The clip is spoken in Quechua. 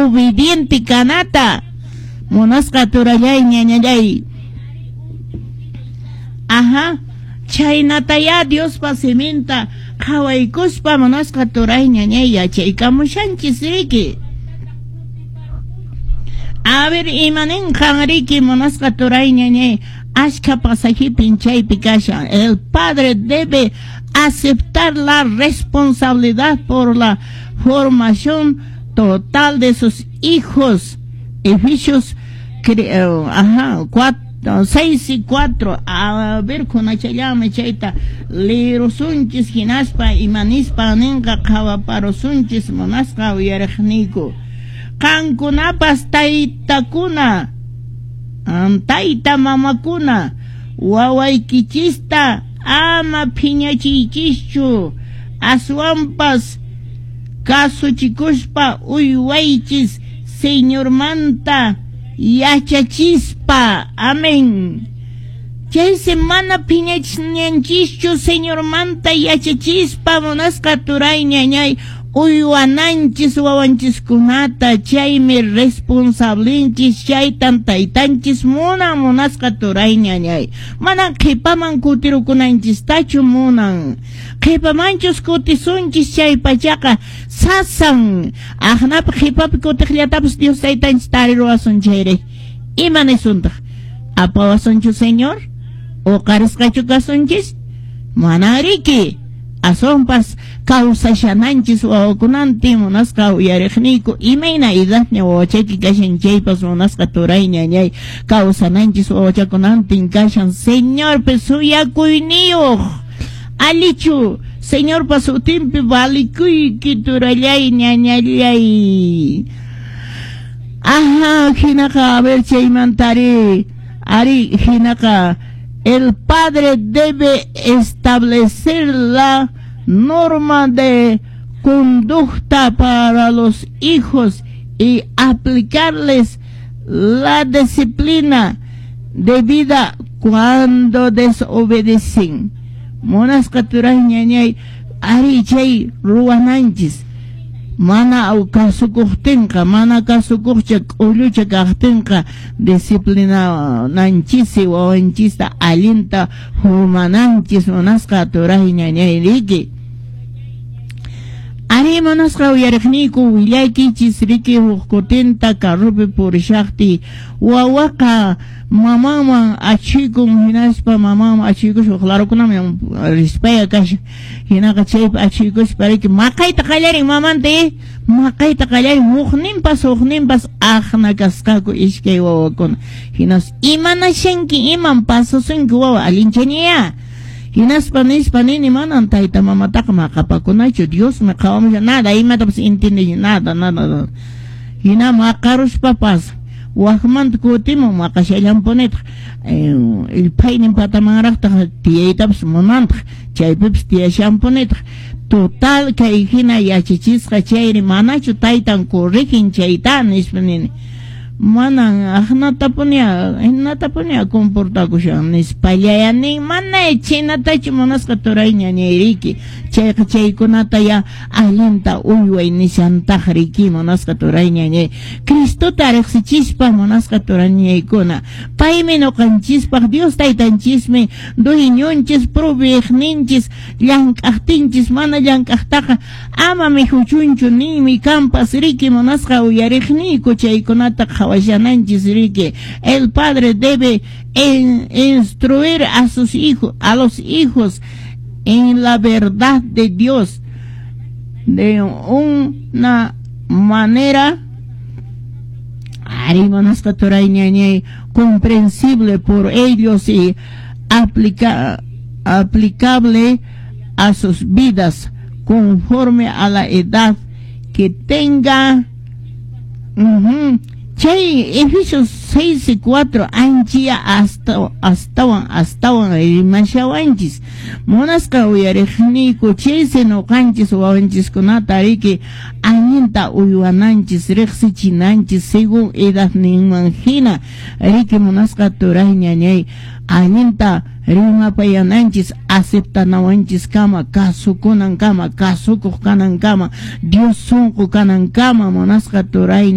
Obediente kanata. Munasqa turallay, ñañallay. Ajá. Chhaynatayá Diospa siminta qhawaykuspa munasqa turay ñañay yachaykamushanchis riki. A ver, imaninqan riki munasqa turay ñañay, askha pasajipin chaypi kashan. El padre debe aceptar la responsabilidad por la formación total de sus hijos. Efesios, ajá, 4, 6 y 4. A ver, kunachallanmi chayta leerusunchis hinaspa imanispa ninqa qhawaparusunchis munasqa uyariqniyku. Qankunapas taytakuna, tayta mamakuna, wawaykichista ama phiñachiychischu, aswanpas kasuchikuspa uywaychis Señormanta yachachispa. Amén. Chaysi mana phiñachinanchishchu Señormanta yachachispa munasqa turay ñañay uywananchis wawanchiskunata, chaymi responsablenchis, chaytan taytanchis munan munasqa turay ñañay. Manan qhipaman kutirukunanchistachu munan. Qhipamanchus kutisunchis chay pachaqa sasan. Aqnapi qhipapi kutiqllatapas Dios taytanchis tariruwasun chayri. Ima nisuntaq? Apawasunchu Señor? Uqarisqachu kasunchis? Mana riki. Aswanpas kawsashananchis wawakunantin munasqa uyariqniyku, imayna edadña wawachayki kashan chaypas munasqa turay ñañay kawsananchis wawachakunantin kashan Señorpi suyakuyniyuq. Alichu Señorpa sutinpi valikuyki turallay ñañallay. Ajá, hinaqa, a ver chaymantari, ari hinaqa, el padre debe establecer la norma de conducta para los hijos y aplicarles la disciplina debida cuando desobedecen. Munasqa turay ñañay, ari chay ruwananchis. Mana kasukuqtinqa, mana kasukuqcha k'ullucha kaqtinqa disciplinanchisi wawanchista allinta formananchis munasqa turay ñañay riki. Ari munasqa uyariqniyku willaykichis riki huk kutinta carropi purishaqtiy wawaqa mamanman achikun hinaspa mamanman achiykuspa larukunaman rispaya kashan hinaqa chaypi achiykuspa riki maqayta qallarin mamanta maqayta qallarin hukninpas aqna kasqaku iskay wawakuna hinas imanashanki iman pasasunki wawa allinchañaya hinaspa nispa nini manan tayta mamataqa maqapakunachu Diosmi qhawamushan nada imatapas entiende nada nada hina maqaruspapas wakmanta kutimun maqashallanpunitaq ilphaynin patamanraqtaq tiyaytapas munantaq chaypipas tiyashanpunitaq total kay hina yachachisqa chayri manachu taytan corrigen chayta nispa nini manan aqnatapuni comportakushan nispallaya nin mana chinatachu munasqa turay ñañayriki chayqa chaykunata ya allinta uyway nishantaq riki munasqa turay ñañay Cristota riqsichispa munasqa turay ñañaykuna paymi ñuqanchispaq Dios taytanchismi dueñonchis proveeqninchis llank'aqtinchis mana llank'aqtaqa ama mikhuchunchu ninmi kanpas riki munasqa uyariqniyku chaykunata qhawashananchis riki. El padre debe instruir a sus hijos, a los hijos en la verdad de Dios de una manera ari munasqa turay ñañay comprensible por ellos y aplicable a sus vidas conforme a la edad que tenga. Chay Efesios 6 y 4 anchia astawan rimashawanchis munasqa uyariqniyku chaysi ñuqanchis wawanchiskunata riki allinta uywananchis riqsichinanchis según edadninman hina riki munasqa turay ñañay allinta rimapayananchis aceptanawanchis kama kasukunan kama kasukuq kanan kama Dios sunqu kanan kama munasqa turay.